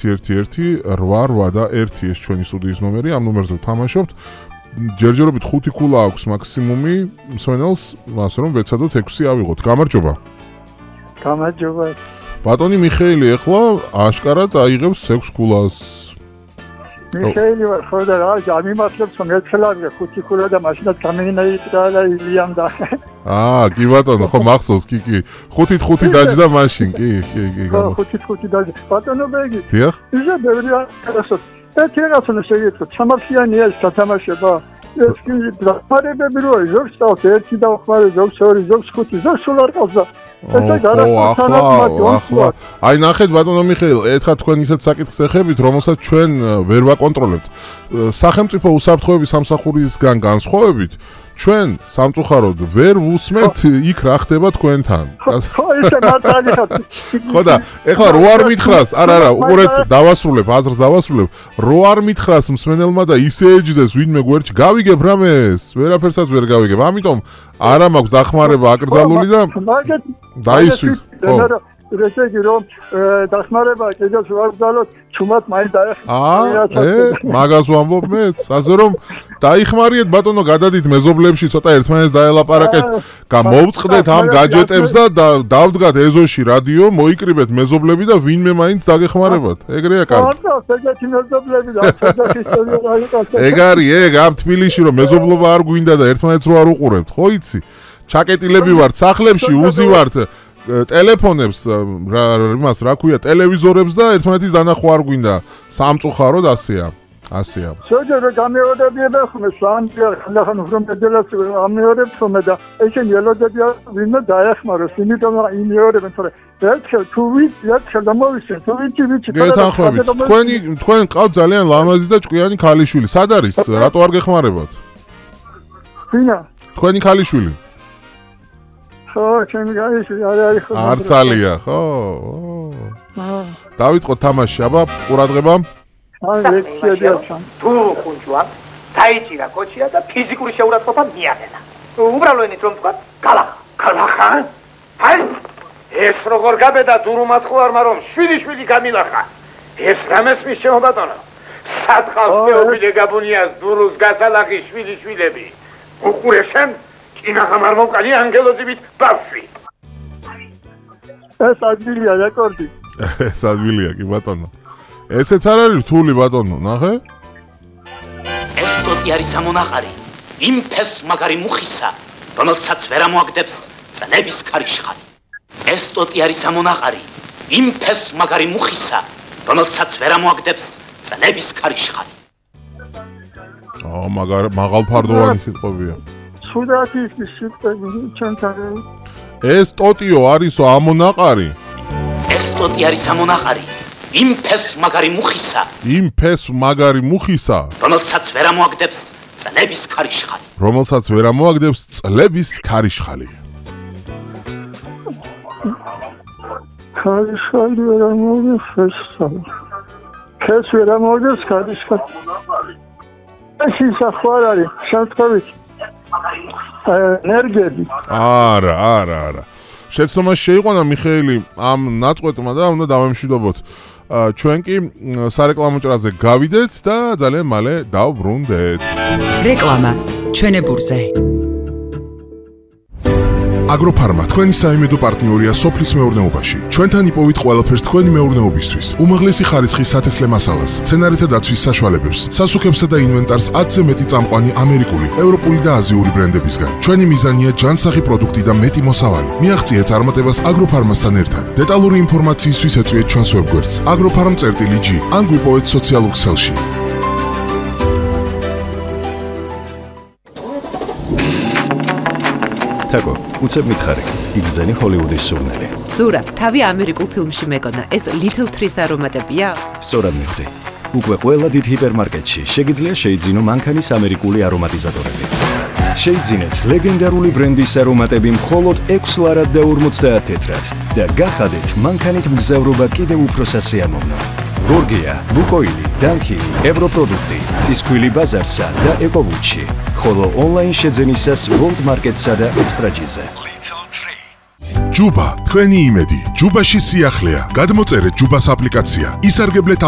118 ეს ჩვენი სტუდიის ნომერი, ამ ნომერზე ვთამაშობთ. ჯერჯერობით 5 ქულა აქვს მაქსიმუმი მსვენელს, ასე რომ ვეცადოთ 6 ავიღოთ. გამარჯობა. გამარჯობა. ბატონი მიხეილი ახლა აშკარად აიღებს 6 ქულას. მიხეილი ვარ, ხო და რა, გამიმართლებს რომ ეცელავე 5 ქულა და მაშინაც გამიგინაიტა და ილიამ და. კი ბატონო, ხო მახსოვს, კი. 5-ით 5 დაჯდა მაშინ, კი. ხო, 5-ით 5 დაჯდა. ბატონო ბეგი. დიახ. ისე ბევრი არასოც. ერთი რაღაცა შეგეცოთ, სამართლიანია ეს გათამაშება. ეს კი დახმარებები როა, ზოგს წავს 1 დავხმარე, ზოგს 2, ზოგს 5, ზოგს სულ არ ყავს და ახლა აი ნახეთ ბატონო მიხეილ, ეთქა თქვენ ისეთ საკითხს ეხებით, რომელსაც ჩვენ ვერ ვაკონტროლებთ. სახელმწიფო უსაფრთხოების სამსახურისგან განსხვავებით, ჩვენ სამწუხაროდ ვერ ვუსმენთ იქ რა ხდება თქვენთან. ხო, ისე მართალი ხარ. ხო და ეხლა რო არ მითხრას, არა, უყურეთ, დავასრულებ, აზრს დავასრულებ. რო არ მითხრას მსმენელმა და ისე ეჯდეს ვინმე გვერდში, გავიგებ რამეს, ვერაფერსაც ვერ გავიგებ. ამიტომ არა მაქვს დახმარება აკრძალული და დაისვით. ხო. ესე იგი რომ დახმარება კიდევ ვარ გძალოთ, ჩუმად მაინც დაეხმარება. მაგას ვამბობ მეც, ასე რომ დაიხმარიეთ ბატონო, გადადით მეზობლებში, ცოტა ერთმანეთს დაელაპარაკეთ, გამოვწყდეთ ამ გაჯეტებს და დავდგათ ეზოში რადიო, მოიკრიბეთ მეზობლები და ვინმე მაინც დაგეხმარებათ. ეგრეა კარგი. ეგეთი მეზობლები და ისტორია ეგ არის, ამ თბილისში რომ მეზობლობა არ გვინდა და ერთმანეთს რო არ უყურებთ, ხო იცი? ჩაკეტილები ვართ სახლებში, უზივართ ტელეფონებს, იმას რა ქვია, ტელევიზორებს და ერთმანეთის დანახვა არ გვინდა. სამწუხაროდ ასეა. შეიძლება გამეორებიება ხომ ხან უბრალოდ ამეორებს ხომ და ესენი ელოდები ვინმე დაეხმაროს, იმიტომ რომ იმეორებენ, თორე ერთხელ თუ ერთხელ დამოვისე, თუ ვიცი. გეთანხმებით, თქვენ ყავთ ძალიან ლამაზი და ჭკვიანი ქალიშვილი. სად არის? რატო არ გეხმარებათ? ვინა? თქვენი ქალიშვილი. ხო, ჩემი ქალიშვილი არის ხო? არცალია, ხო? დავიწყოთ თამაში, აბა, ყურადღება. თუ ხუნჯვა, დაიჭირა კოჩია და ფიზიკური შეურაცხყოფა მიაყენა. უბრალოდ რომ თქვა, გალახა. აი, ეს როგორ გაბედა დურუმად ხوارმა რომ შვილი გამილახა. ეს რამეს მისჩემო ბატონო. სათხავს მეუბნე გაბუნიას დურუს გასალახი შვილები. უყურე შენ, კინაღამარ მოკალი ანგელოზივით ბავშვი. ეს ადვილია რეკორდი. ეს ადვილია კი ბატონო. ესეც არ არის რთული ბატონო, ნახე? ეს ტოტი არის სამონაყარი, იმ ფეს მაგარი მუხისა, რომელსაც ვერ ამოაგდებს წლების ქარიშხალი. ეს ტოტი არის სამონაყარი, იმ ფეს მაგარი მუხისა, რომელსაც ვერ ამოაგდებს წლების ქარიშხალი. მაღალფარდოვანი სიტყვებია. სუდათი ის სიტყვები ჩვენთან. ეს ტოტიო არისო ამონაყარი. ეს ტოტი არის სამონაყარი. იმ ფეს მაგარი მუხისა, რომელსაც ვერ ამოაგდებს წლების ქარიშხალი. ქარიშხალი ვერ ამოაგდებს ფეს ვერ ამოაგდებს ქარიშხალი. ეს ისახوار არის, შემთხვევით. ენერგიები. არა. შეცდომა შეიყვანა მიხეილი ამ ნაწყვეტმა და უნდა დავემშვიდობოთ. ჩვენ კი სარეკლამო ჭრაზე გავიდეთ და ძალიან მალე დავბრუნდეთ. რეკლამა ჩვენებურზე. აგროფარმა თქვენი საიმედო პარტნიორია სოფლის მეურნეობაში. ჩვენთან იპოვით ყველაფერს თქვენი მეურნეობისთვის. უმაღლესი ხარისხის სათესლე მასალას, მცენარეთა დაცვის საშუალებებს, სასუქებსა და ინვენტარს 10-ზე მეტი წამყვანი ამერიკული, ევროპული და აზიური ბრენდებისგან. ჩვენი მიზანია ჯანსაღი პროდუქტი და მეტი მოსავალი. მიაღწიეთ წარმატებას აგროფარმასთან ერთად. დეტალური ინფორმაციისთვის ეწვიეთ ჩვენს ვებგვერდს agrofarm.g ან გვიპოვეთ სოციალურ ქსელში. თაკო, უცებ მითხარი, იგრძენი ჰოლივუდის სურნელი. ზურა, თავი ამერიკულ ფილმში მეკონა, ეს Little Trees არომატებია? სწორად მიხვდი. უკვე ყველა დიდ ჰიპერმარკეტში შეგიძლია შეიძინო მანქანის ამერიკული არომატიზატორები. შეიძინეთ ლეგენდარული ბრენდის არომატები მხოლოდ 6 ლარად და 50 თეთრად და გახადეთ მანქანით მგზავრობა კიდევ უფრო სასიამოვნო. გორგია, ლუკოილი, დანკილი, ევროპროდუქტი, ცისქვილი ბაზარსა და ეკოვუჩი. ხოლო ონლაინ შეძენისას World Market-სა და Extra-G-ზე. ჯუბა, თქვენი იმედი. ჯუბაში სიახლეა. გადმოწერეთ ჯუბას აპლიკაცია. ისარგებლეთ